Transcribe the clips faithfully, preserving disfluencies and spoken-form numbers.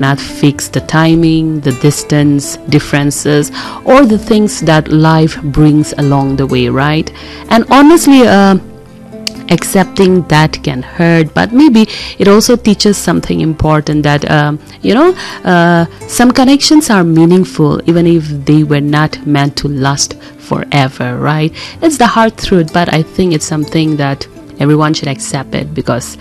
not fix the timing, the distance differences, or the things that life brings along the way, right? And honestly, uh, accepting that can hurt, but maybe it also teaches something important, that, um, you know, uh, some connections are meaningful even if they were not meant to last forever, right? It's the hard truth, but I think it's something that everyone should accept it because,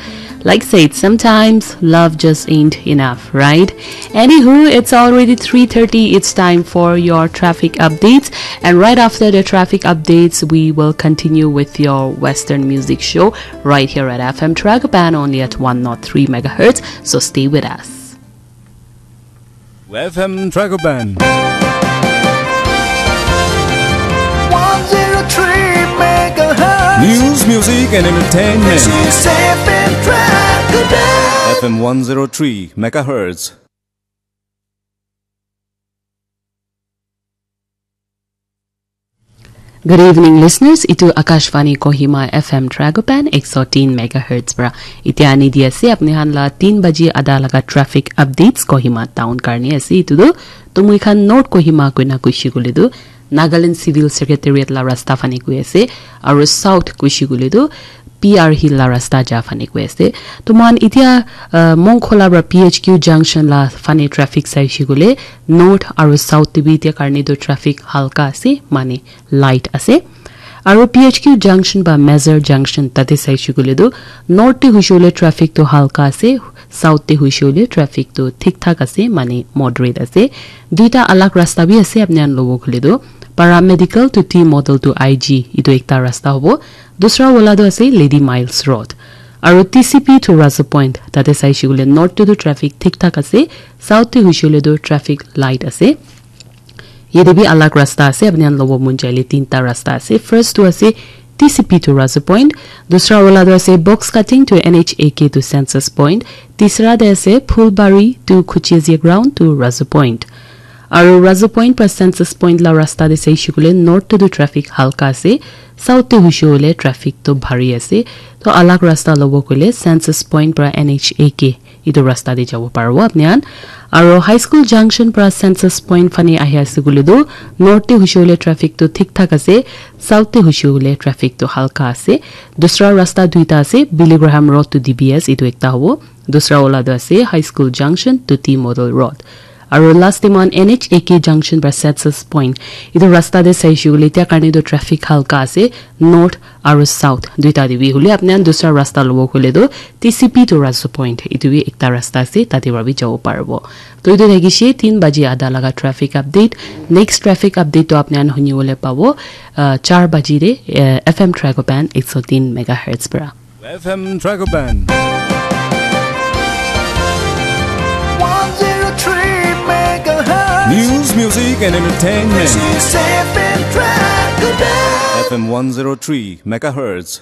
like said, sometimes love just ain't enough, right? Anywho, it's already three thirty. It's time for your traffic updates. And right after the traffic updates, we will continue with your Western music show right here at F M Tragopan, only at one oh three megahertz. So stay with us. F M Tragopan. One zero three megahertz. News, music, and entertainment. This is F M Tragopan. F M one zero three megahertz. Good evening, listeners. Itu Akashvani Kohima F M Tragopan ek sot tin megahertz pra. Itia ani di ase apni khan la tin baji ada laga traffic updates Kohima town karni ase. Itu tu tumui khan North Kohima koina kushi kule tu Nagaland Civil Secretariat la rasta fani koi ase, aru South kushi kule tu P R Hill la rasta ja fani koi ase. Tuman itia, uh, Mongkhola pra P H Q junction la fani traffic sai shikule North aru South te bi itia karne tu traffic halka ase, mane light ase. Aru P H Q junction ba Major junction tate sai shikule tu North te huishule traffic tu halka ase, South te huishule traffic tu thik thak ase, mane moderate ase. Duita alag rasta bi ase, apni khan lobo khule tu Paramedical to T Model to I G, itu ekta rasta hobo. Dusra wala tu ase Lady Miles Road. Aru T C P to Razu Point, tate sai shikule North te tu traffic thik thak ase, South te huishule tu traffic light ase. Yate bi alag rasta ase, apni khan lobo mon jaile tinta rasta ase. First tu ase T C P to Razu Point, dusra wala tu ase Box Cutting to N H A K to Census Point, tisra te ase Phulbari to Khuchezia Ground to Razu Point. Aru Razu Point pra Census Point la rasta te sai shikule North te tu traffic halka ase, South te huishe hoile traffic tu bhari ase. To alag rasta lobo koile Census Point pra N H A K itu rasta te jabo paribo apni khan. Aru High School Junction pra Census Point fani ahi ase koile tu North te huishe hoile traffic tu thik thak ase, South te huishe hoile traffic tu halka ase. Dusra rasta duita ase, Billy Graham Road to D B S, itu ekta hobo. Dusra wala tu ase High School Junction to T Model Road. Aru last te moikhan N H A K junction pra Census Point. Itu rasta te saishe koile etia karne tu traffic halka ase, north aru south duita te bi. Hole apni khan dusra rasta lobo koile tu T C P to Razu Point, itu bi ekta rasta ase, tate pra bi jabo paribo. To itu thakishe tin baji ada laga traffic update. Next traffic update tu apni khan huni bole pabo, uh, char baji te, uh, F M Tragopan ek sot tin megahertz pra. F M Tragopan. One zero three megahertz. News, music, and entertainment. This is F M Tragopan. F M one zero three megahertz.